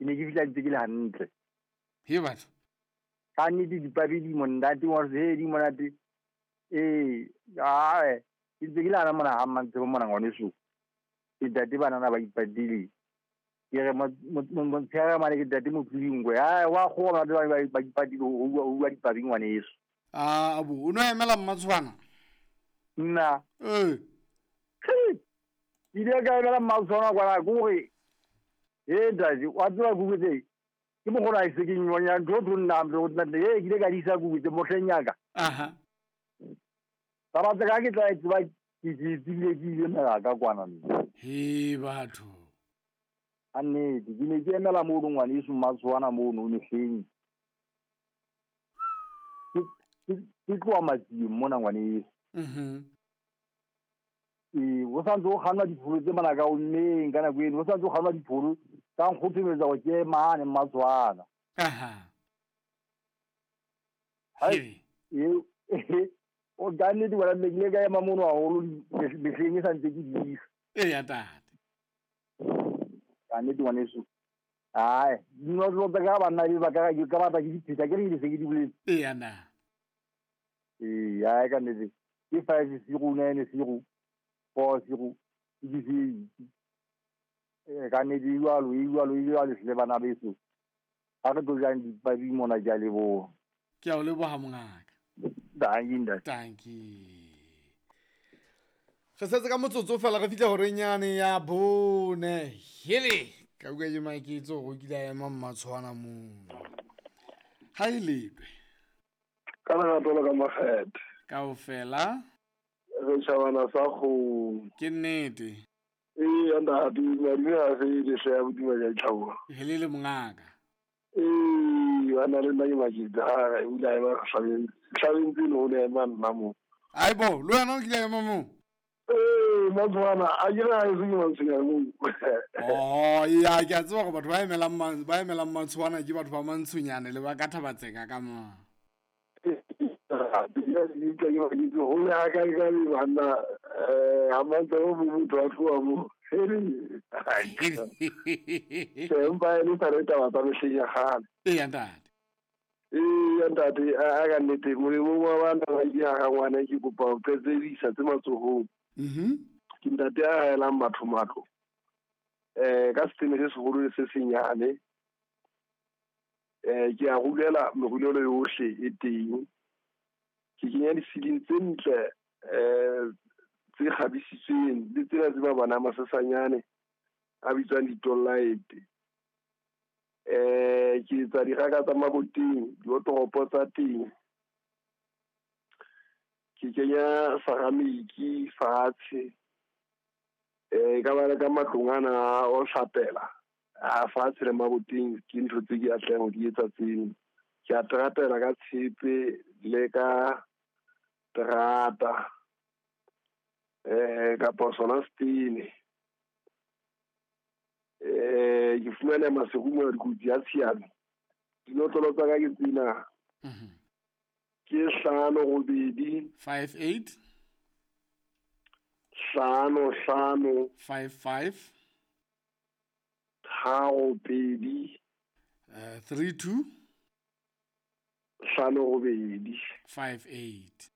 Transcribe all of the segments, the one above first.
Ke ne ke fihla ntse ke le hantle. He batho. Ka nnete dipabi di monate, wa he di monate. Ee, ae, ke ntse ke le hana mona ha Mmantshepo mona ngwaneso. Ke ntate banana ba ipatile. Ke re motshehare mane ke ntate Motlodingwe. Ae, wa kgowa batho ba ipatile ho bua dipabi ngwaneso. A abo, o no emela Mmatshwana? Nna. Ee. Ke ile ka emela Mmatshwana kwana ke hore he ntate, wa tseba kuku tse ke mokgona a se ke nyonya ntho tho nna ntho nna he ke ile ka di isa kuku tse mohleng ya ka. Aha. Taba tsa ka ke tla e tseba ke tsebile ke ile mela ka kwana nna. He batho. A nnete, ke ne ke emela mono ngwaneso Mmatshwana mono mehleng. Ke tloha Matsieng mona ngwaneso. Ee, ho santse ho kgannwa dipholo tse mona ka ommeng ka nako eno, ho santse ho kgannwa dipholo tsa nkgothometsa hore ke mane Mmatshwana. Aha. Hai, ee, o ka nnete wena mme ke ile ka ema mono haholo mehleng e santse ke disa. Eya tate. Ka nnete ngwaneso. Ai, dinotlolo tsa ka banna be ba ka ke ka batla ke di pheta, ke re ke se ke di boletse. Eya na. Ee, ai ka nnete. Ke 5 0 9 0 4 0 6 8. Ee, ka nnete e jwalo, e jwalo, e jwalo hle bana beso. Ha re tlo jang dipabi mona, ke a leboha. Ke a o leboha mongaka. Dankie ntate. Dankie. Re setse ka motsotso fela re fihla horeng yane ya 4. Hele, ka utlwa ke maketse hore o kile a ema Mmatshwana mono. Ha e letwe. Ka lerato le ka makgethe. Kaofela. Re tjhabana sa kgomo. Ke nnete. Ee, ntate, madume a se lehle ya bodima ja ditlhabola. Helele mongaka. Ee, ba na le nna ke maketse, ha re o ile a ema hlabeng, hlabeng tse no o ne ema nna mo. Aibo, le wena o kile a ema moo? Ee, Mmatshwana, a ke re ha e se ke Mantshonyane moo. Oh, ya, ke a tseba hore batho ba emelang ba emelang Mmatshwana ke batho ba Mantshonyane le ba ka Thabatseka ka mo. Ho ya ka ka le banna, ha Mantshwana bo motho a tloha mo. Tjhe, empa e le sa re taba tsa mehleng ya kgale. Eya ntate. Eya ntate, a ka nnete molemong wa bana ba ke ha ngwana ke kopa ho qetsedisa tse matsohong. Ke ntate a haelang batho matlo. Ka setene se seholo le se senyane. Ke a rulela merulelo yohle e teng. Ke kenya di-ceiling tse ntle, tse kgabisitsweng le tsena tse mabana a masesanyane a bitswang di-tollite. Ke etsa diraka tsa maboteng, diotoropo tsa teng. Ke kenya ceramic fatshe. Ka ba le ka matlong ana o hlapela. A fatshe le maboteng ke ntho tse ke atlehang ho di etsa tseno. Ke a teratela ka tshepe le ka terata. Kapa sona setene. Ke fumana Maseru mona dikotsi ya tshiano. Dinotlolo tsa ka ke tsena. Ke 5 8 5 8 5 5 5 5 3 2 3 2 5 8 5 8.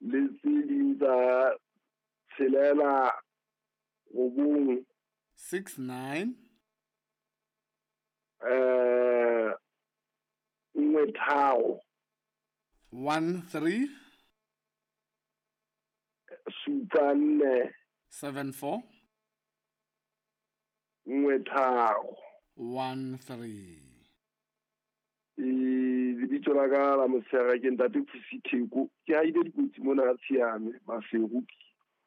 Le tse ding tsa tshelela 9 6 9 1 3 1 3 7 4 7 4 1 3 1 3. Lebitso la ka la motshehare ke ntate Pusi Theko. Ke haile dikotsi mona Tshiame Maseru.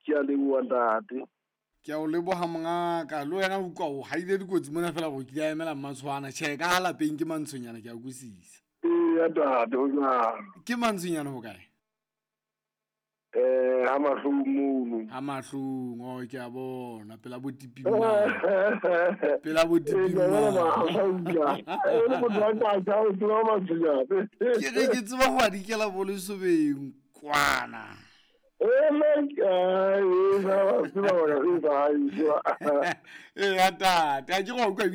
Ke a leboha ntate. Ke a o leboha mongaka. Le wena o utlwa o haile dikotsi mona fela gore ke di a emela Mmatshwana. Tjhe, ka ha lapeng ke Mantshonyane, ke a utlwisisa. Ee, ntate, ho jwalo. Ke Mantshonyane ho kae? Ha mahlong mono. Ha mahlong, oh, ke a bona, pela bo tipi mane. Pela bo tipi mane. Ke re ke tseba ho adikela bo lesobeng kwana. Ee, ntate, ha ke go utlwa.